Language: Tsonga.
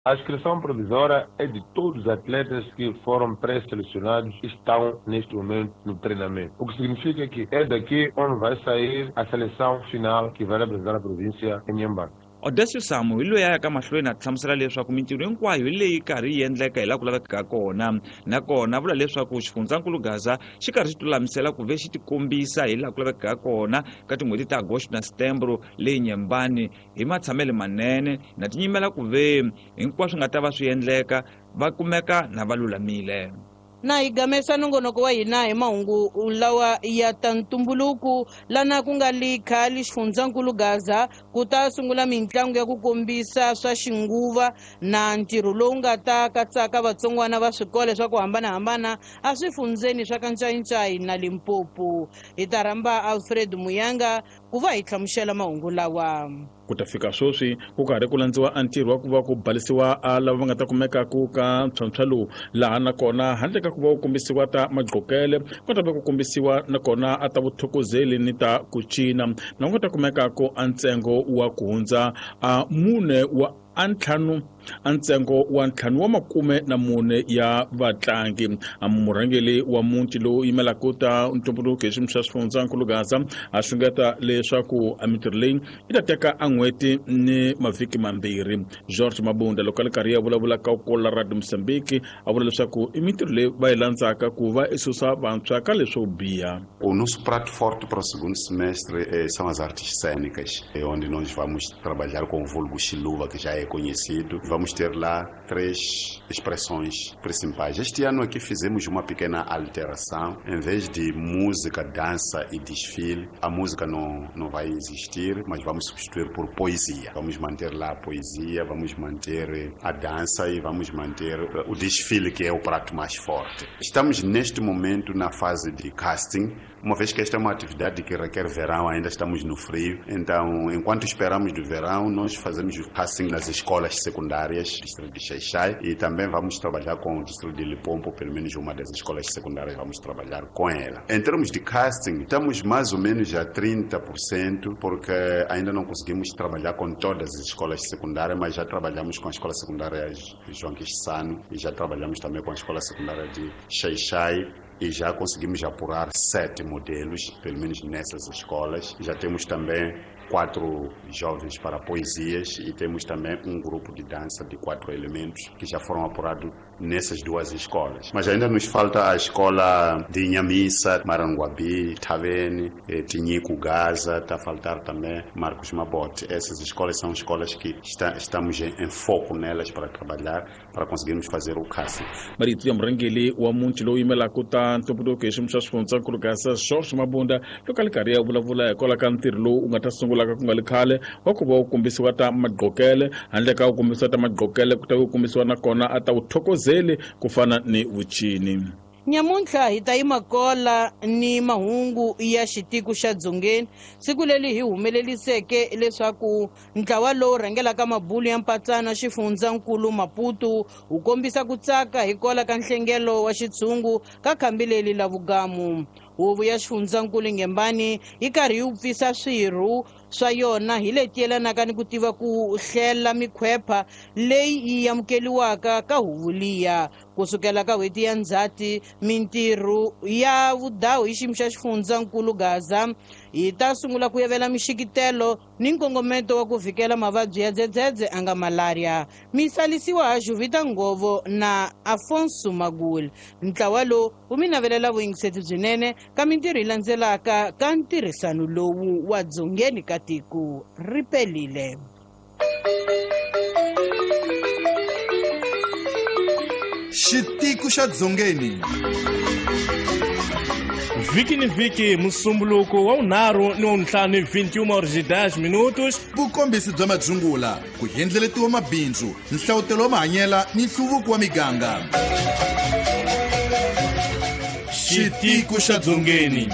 A inscrição provisória é de todos os atletas que foram pré-selecionados e estão neste momento no treinamento. O que significa que é daqui onde vai sair a seleção final que vai representar a província em Inhambane. Odécio Samu hi loyi a yaka mahlweni a hlamusela leswaku mintirho hinkwayo hi leyi karhi yi endleka hi laha ku lavekaka kona, nakona vula leswaku xifundzankulu Gaza xi karhi xi tilulamisela ku ve xi tikombisa hi laha ku lavekaka kona ka tin'hweti ta Agosto na Setembro leyi Nyembani hi matshamelo manene na tinyimela ku ve hinkwaswo nga ta va swi endleka va kumeka na va lulamile. Na hi gamesa nongonoko wa hina hi mahungu lawa ya ta ntumbuluko lana ku nga li khale xifundzankulu Gaza ku ta sungula mintlangu ya ku kombisa swa xinguva na ntirho lowu nga ta katsaka vatsongwana va swikolo swa ku hambanahambana a swifundzeni swa ka Ncayincayi na Limpopo. Hi ta rhamba Alfred Muyanga ku va hi hlamusela mahungu lawa. Ku ta fika sweswi ku karhi ku landziwa a ntirho wa ku va ku balisiwa a lava va nga ta kumeka ku ka ntlhontlho lowu, laha nakona handle ka ku va ku kombisiwa ta magqokele ku ta va ku kombisiwa nakona a ta vuthokozeli ni ta ku cina, na ku nga ta kumeka ku a ntsengo wa ku hundza a mune wa a ntlhanu a ntsengo wa ntlhanu wa makume na mune ya vatlangi. Murhangeri wa muti lowu yimelaka ta ntumbuluko hi xiyimo xa xifundzankulu Gaza a xungeta leswaku a mintirho leyi yi ta teka a n'hweti ni mavhiki mambirhi. George Mabunda loko a ri karhi ya vulavula ka kola Radio Mozambique a vula leswaku i mintirho leyi va yi landzaka ku va i susa vantshwa ka leswo biha. O nosso prato forte para o segundo semestre são as artes cênicas, onde nós vamos trabalhar com o vulgo Xiluva, que já é conhecido. Vamos ter lá 3 expressões principais. Este ano aqui fizemos uma pequena alteração. Em vez de música, dança e desfile, a música não vai existir, mas vamos substituir por poesia. Vamos manter lá a poesia, vamos manter a dança e vamos manter o desfile, que é o prato mais forte. Estamos neste momento na fase de casting, uma vez que esta é uma atividade que requer verão, ainda estamos no frio. Então, enquanto esperamos do verão, nós fazemos o casting nas escolas secundárias do distrito de Xai-Xai e também vamos trabalhar com o distrito de Limpopo, pelo menos uma das escolas secundárias vamos trabalhar com ela. Em termos de casting, estamos mais ou menos a 30%, porque ainda não conseguimos trabalhar com todas as escolas secundárias, mas já trabalhamos com a escola secundária João Quixano e já trabalhamos também com a escola secundária de Xai-Xai. E já conseguimos apurar 7 modelos, pelo menos nessas escolas. Já temos também 4 jovens para poesias e temos também um grupo de dança de 4 elementos que já foram apurados nessas 2 escolas. Mas ainda nos falta a escola de Inhamissa, Maranguabi, Tavene, Tinhico, Gaza, está a faltar também Marcos Mabote. Essas escolas são escolas que estamos em foco nelas para trabalhar, para conseguirmos fazer o casting. Marito ya murhangeri wa muti lowu yimelaka ta ntumbuluko hi xiyimo xa xifundzankulu Gaza George Mabunda loko a ri karhi ya vulavula hikwalaho ka ntirho lowu wu nga ta sungulaka ku nga li khale wa ku va wu kombisiwa ta magqokele, handle ka ku kombisiwa ta magqokele ku ta ku kombisiwa nakona a ta vuthokozeli ku fana ni vucini. Nyamuntlha hi ta yima kola ni mahungu ya xitiko xa Dzongeni, siku leri hi humeleliseke leswaku ntlawa lowu rhangelaka mabulu ya mpatsano xifundzankulu Maputo wu kombisa ku tsaka hi kola ka nhlengelo wa xitshungu ka khambi leri la vugamu. Huvo ya xifundzankulu Ngembani yi karhi yi pfisa swirho swa yona hi leti yelanaka ni ku tiva ku hlela mikhwepha leyi yi amukeliwaka ka huvo liya. Kusukela ka n'hweti ya Ndzhati, mintirho ya vudawu hi xiyimo xa xifundzankulu Gaza yi ta sungula ku yavela mixikitelo ni nkongometo wa ku vhikela mavabyi ya dzedzedze a nga malaria. Misalisiwa ha Juvita Ngovo na Afonso Magul. Ntlawa lowu wu mi navelela vuyingiseti byinene ka mintirho yi landzelaka ka ntirhisano lowu wa dzongeni ka tiko ri pelile. Xitiko xa Dzongeni. Vhiki ni vhiki, musumbuluko wa vunharhu ni wa vuntlhanu, 21h10 minutos. Vukombisi bya madzungula, ku endleletiwa mabindzu, nhlawutelo wa mahanyela ni nhluvuko wa miganga. Xitiko xa Dzongeni.